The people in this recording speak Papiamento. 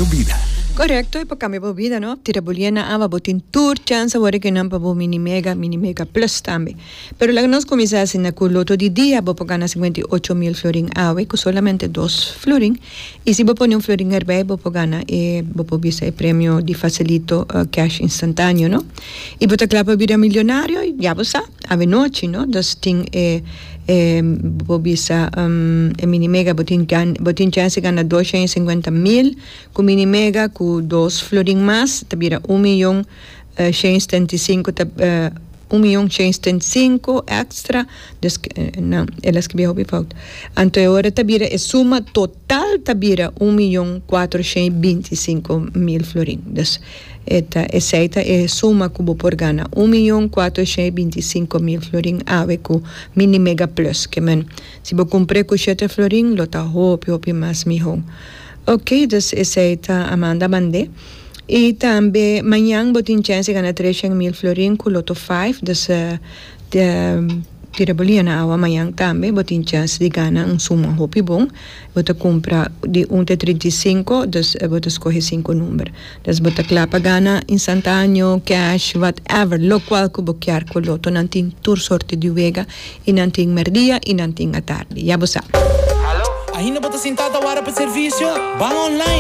Cambiando bida. Correcto, y pa cambia bo bida, no? Tira bo lia na awa, bo tin tur chance awor ki nan pa bo mini mega, mini mega plus tambe. Pero laga nos cuminsa asina cu loto di dia bo por gana 58,000 florin awe cu solamente dos florin. Y si bo pone un florin erbij bo por gana e, bo por bisa e premio di facilito cash instantaneo, no? Y bo ta cla pa bira milionario? Ya bo sa, awe nochi, no? Dus tin e. E bo bisa e mini mega bo tin bo tin chance di gana 250,000 ku mini mega ku dos florin mas ta bira un miyon shen i setenta i sinku ta un miyon shen i setenta i sinku extra dus nan el a skibí hopi fout anto e ora ta bira e suma total ta bira un miyon kuatro shen i binti i sinku mil florin dus E ta esei ta e suma ku bo por gana, un miyon 425,000 florin awe ku Mini Mega Plus. Ke men, si bo kumpr'é ku shete florin lo ta hopi hopi mas mihó. Oke, dus esei ta Amanda mand'é. I tambe mañan bo tin chèns di gana 300,000 florin ku Lotto Five, dus tira bo liña na awa mañan tambe bo tin chèns di gana un suma hopi bon. Bo ta kumpra di un te 35, dus bo ta skohe sinku number. Dus bo ta kla pa gana instantaneo, cash, whatever, locual cu bo kier cu loto. Nan tin tur sorte di wega y nan tin merdia y nan tin atardi. Ya bo sa. Ainda bo ta sinta ta wara pa servicio? Ban online!